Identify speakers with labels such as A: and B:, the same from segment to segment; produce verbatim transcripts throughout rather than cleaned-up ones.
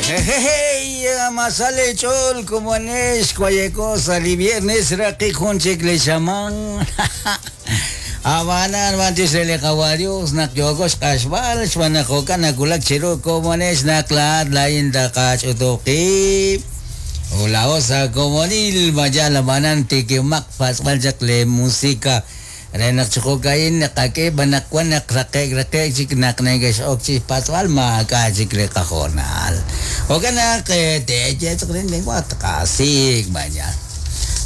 A: Hey, masale chol como anesh kwayeko sali viernes raqi junchik le shaman. Abanan mantis le kawarios nak yogos kashbal shwanajoka nakulak chiro como anesh naklat lain dakach utoki. Hola osa como nil mayala banan tikimak pasbaljak le música. Renak chukokain nakake banakwan nakrake rake chik naknegesh okchi paswal ma kachik le kajonal. Ogana que te rin lengua kasik mañana.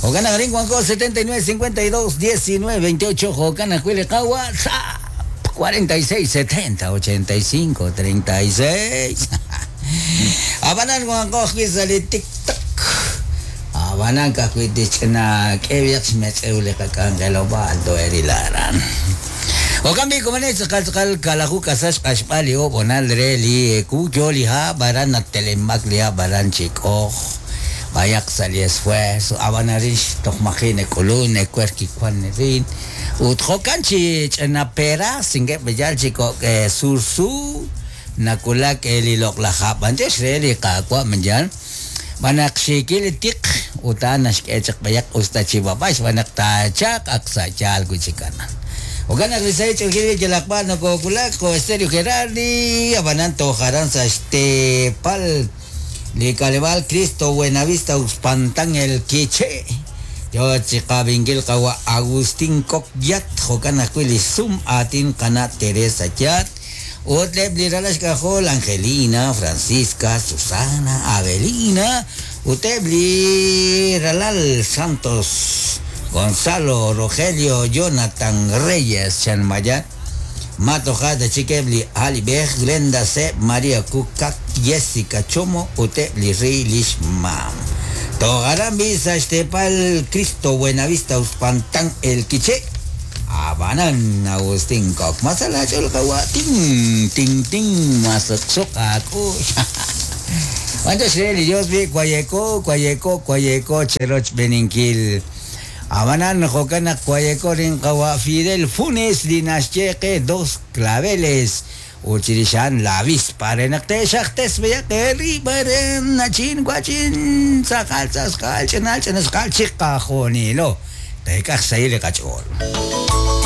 A: Ogana ringuanco setenta y nueve cincuenta y dos diecinueve veintiocho Jocana cuile kawa cuarenta y seis setenta ochenta y cinco treinta y seis. Abanan guanco sali tic tac. Abanan kakuitichna keviach metzeule kakangelobaldo erilaran. Okambi komanes kalkal kalahu kasash kashpali o bonal reli kuyoli ha baran telemak lia baran chiko. Bayak sali esfuerzo abanarish tokmajine kulune kuerki kwannerin. Utjokanchi chenapera singe beyal chico sursu nakulak elilok lajapan reli kakwa menjan. Banak shikil tik utanash kechak bayak ustachibabash banak tachak aksachal kuchikanan. Ogana risay chulkil yelakpa no kokulak ko Estéreo Gerardi abanan tojaran sastepal Licalebal Cristo Buenavista Uspantán el Quiche. Yo chikabingil kawa Agustín Kokyat jokana kuili sum atin kana Teresa Yat. Utleb liralash kajol Angelina, Francisca, Susana, Avelina, Utebli Ralal Santos, Gonzalo, Rogelio, Jonathan Reyes, Chanmayat, Mato Jada, Chiquebli, Ali Bej, Glenda C, María Kukak, Jessica Chomo, Utebli Rilish Mam. Togarambi, Sashtepal, Cristo, Buenavista, Uspantán, El Quiché. Abanan Agustín Kok masala chol kawa ting ting ting masuk sok aku. Cuando se le Dios vi cuayeco cuayeco cuayeco cheroch beninkil. Abanan jokana cuayeco rin kawa Fidel Funes dinascheque dos claveles. Uchirishan la avispa renakte shaktes beyake ribaren nachin guachin sakal saskal chenal chenascal chicajonilo. Te caxaile cachol.